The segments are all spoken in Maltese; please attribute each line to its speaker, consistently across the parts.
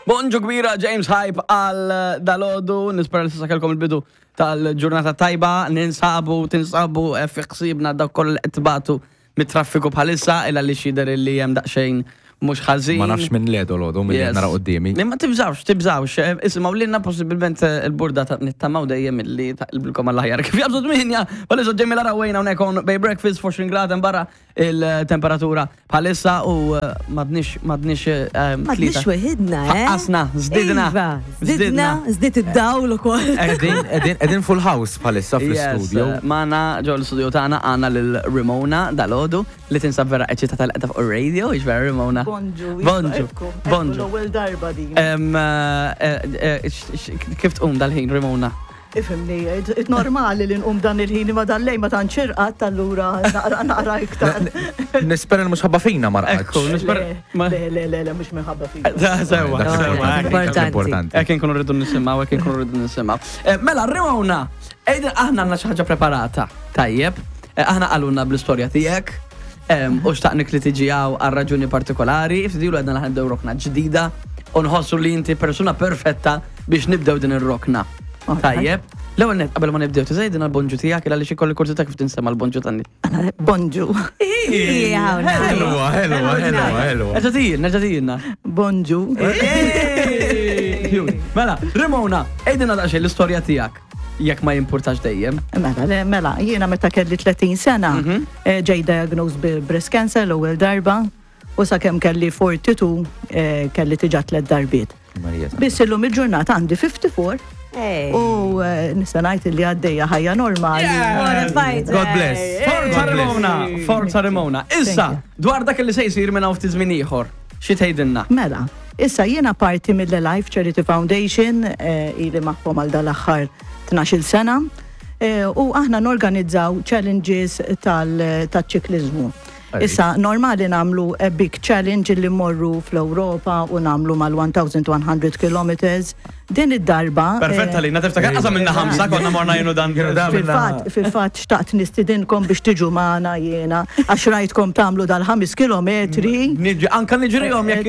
Speaker 1: Bonġu kbira James Hype għal dalodu, nispera li s'issa kellkom il-bidu tal-ġurnata tajba, ninsabu, tinsabu eh, fi ħsiebna dak kollha li qed tbatu mit-traffiku bħalissa illa li xider li hemm daqsxejn mhux ħażin.
Speaker 2: Ma nafx minn le dolodu minn li nara quddiemi.
Speaker 1: Ma tibżawx, tibżawx. Eh, isimgħu lilna possibilment eh, il-burda ta' nittamaw dejjem illi taqilbilkom għall-aħjar. Kif jabżu tminja, bħalissa ġemmi lara wejna hawnhekk on Bay Breakfast 20 grad barra il-temperatura bħalissa u eh, madnix madnix eh,
Speaker 3: Madnix weħidna, eh?
Speaker 1: Faqqasna, zdidna.
Speaker 3: Iva, zdidna, zdid id-dawl ukoll.
Speaker 2: Edin edin full house bħalissa fl-studio.
Speaker 1: Eh, Magħna ġo l-studio tagħna għandna lil Ramona dalodu li tinsab vera eċitata li qiegħda fuq ir-radio, hix vera Ramona?
Speaker 4: Bonġu.
Speaker 1: Bonġu. Bonġu.
Speaker 4: L-ewwel darba din.
Speaker 1: Kif tqum dal-ħin Ramona?
Speaker 4: Ifhimni, it normali li nqum dan il-ħin imma dan lejn ma tantx irqadt allura naqra naqra iktar.
Speaker 2: Nispera li mhux ħabba fina ma rqadx.
Speaker 1: Ekku, nispera.
Speaker 4: Le, le, le, le, mhux minħabba fina.
Speaker 1: Sewa, sewa.
Speaker 2: Importanti.
Speaker 1: Hekk inkunu rridu nisimgħu, hekk inkunu rridu nisimgħu. Eh, mela, Rimona, ejda aħna għandna xi ħaġa preparata. Tajjeb, eh, aħna qalulna bl-istorja tiegħek u xtaqnik li tiġi hawn għal raġuni partikolari, ftidilu għedna li ħanibdew rokna ġdida u nħossu li inti persuna perfetta biex nibdew din ir-rokna. Tajjeb. L-ewwel net qabel ma nibdew tiżejdina l-bonġu tiegħek għaliex ikolli kurżità kif tinsema' l-bonġu tan
Speaker 4: Bonġu.
Speaker 2: Ħelwa, ħelwa, ħelwa, ħelwa.
Speaker 1: Nerġa' tijin, nerġa' tijinna.
Speaker 4: Bonġu.
Speaker 1: Mela, Rimona, għidilna daqsxejn l-istorja tiegħek jekk ma jimpurtax dejjem.
Speaker 4: Mela, le, mela, jiena meta kelli 30 sena, eh, ġej diagnosed bi breast cancer l-ewwel darba u sakemm kelli 42 eh, kelli tiġa tliet darbiet. Biss illum il-ġurnata għandi 54 u eh, nista' ngħid li għaddejja ħajja normali.
Speaker 2: God bless.
Speaker 1: Forza Ramona, forza Ramona. Issa, dwar dak li se jsir minn hawn ftit żmien ieħor, xi tgħidilna?
Speaker 4: Mela, issa jiena parti mill-Life Charity Foundation eh, ili magħhom għal dal-aħħar 12-il sena eh, u aħna norganizzaw challenges tal-ċiklizmu. Issa, normali nagħmlu a big challenge li mmorru fl-Ewropa u nagħmlu mal-1100 kilometers. Din id-darba.
Speaker 1: Perfetta li, tiftakar qasam minna ħamsa konna morna jenu dan.
Speaker 4: Fil-fatt, fil-fatt xtaqt nistidinkom biex tiġu magħna jiena għax rajtkom tagħmlu dal-ħames kilometri.
Speaker 1: Niġi, anka niġrihom jekk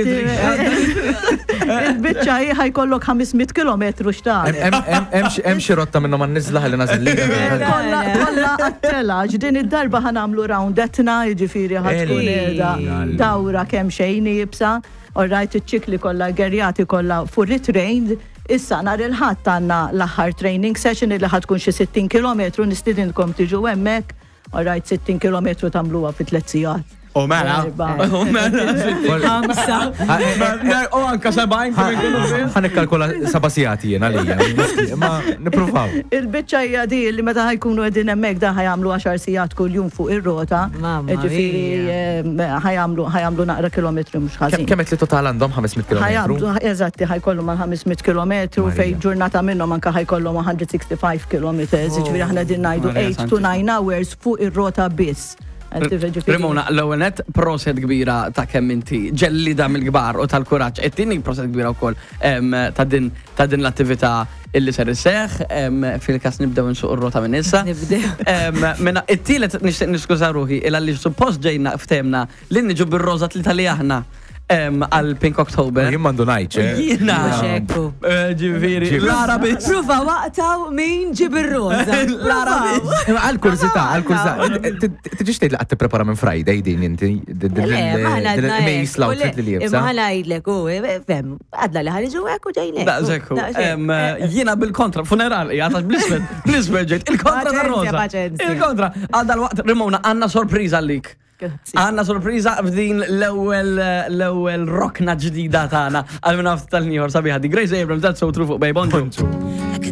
Speaker 4: Il-biċċa hi ħajkollok 500 kilometru x'tagħmel.
Speaker 2: Hemm xi rotta minnhom għan-niżla ħalli nażel li.
Speaker 4: Kollha kollha għat-tela, din id-darba ħa nagħmlu round Etna, jiġifieri ħa tkun qiegħda dawra kemm xejn iebsa. All right, iċ-ċikli kollha gerjati kollha fully trained. Issa nhar il-Ħadd għandna l-aħħar training session illi ħa tkun xi 60 kilometru, nistidinkom tiġu hemmhekk. All right, 60 kilometru tagħmluha fi tliet sigħat.
Speaker 1: U mela. U mela.
Speaker 3: Ħamsa.
Speaker 1: U anka 70 kif inkunu fih.
Speaker 2: Ħa nikkalkula seba' sigħat jien għalija. Ma nippruvaw.
Speaker 4: Il-biċċa hija di li meta ħajkunu qegħdin hemmhekk dan ħajamlu 10 sigħat kuljum fuq ir-rota.
Speaker 3: Mamma
Speaker 4: Ġifieri ħajamlu ħajamlu naqra kilometri mhux ħażin.
Speaker 2: Kemm qed li total għandhom 500 kilometru?
Speaker 4: Ħajamlu eżatti ħajkollu mal 500 kilometru fejn ġurnata minnhom anke ħajkollhom 165 kilometers. Ġifieri aħna din ngħidu 8 to 9 hours fuq ir-rota biss.
Speaker 1: Ramona, l-ewwel nett proset kbira ta' kemm inti ġellida mill-kbar u tal-kuraġġ. It-tieni proset kbira wkoll ta' din ta' din l-attività illi ser isseħħ fil-każ nibdew insuq ir-rota minn issa.
Speaker 3: Nibdew.
Speaker 1: Mela it-tielet nixtieq niskuża ruħi il għaliex suppost ġejna ftehmna li niġu bir-roża tlieta li aħna għal Pink October.
Speaker 2: Jien m'għandu ngħid, eh.
Speaker 1: Jiena.
Speaker 3: Mhux hekk hu.
Speaker 1: Eh, Ġifieri, l-Arabi.
Speaker 3: Pruva waqtaw min ġib ir-roża.
Speaker 1: L-Arabi.
Speaker 2: Imma Għal kurzita, għal kurzita. Tiġix tgħid li qatt tipprepara minn Friday din inti.
Speaker 3: Le, ma ħana
Speaker 2: Din il-qmis l-outfit li
Speaker 3: Imma
Speaker 2: liebsa.
Speaker 3: ħana ngħidlek, u, fem, għadna li ħaniġu hekk u ġejnek.
Speaker 1: Daqshekk hu. Em, Jiena bil-kontra, funeral, jgħatax bl-iswed, bl-iswed ġejt, il-kontra
Speaker 3: Paċenzja,
Speaker 1: tar-roża.
Speaker 3: paċenzja.
Speaker 1: Il-kontra. Għal dal-waqt, Ramona, għandna sorpriża għalik. Għanna sorpriża f'din l-ewwel l-ewwel rokna ġdida tagħna għal minn nafs tal-nieħor sabiħa di Grace Abrams that's so true fuq Bay Bonġu.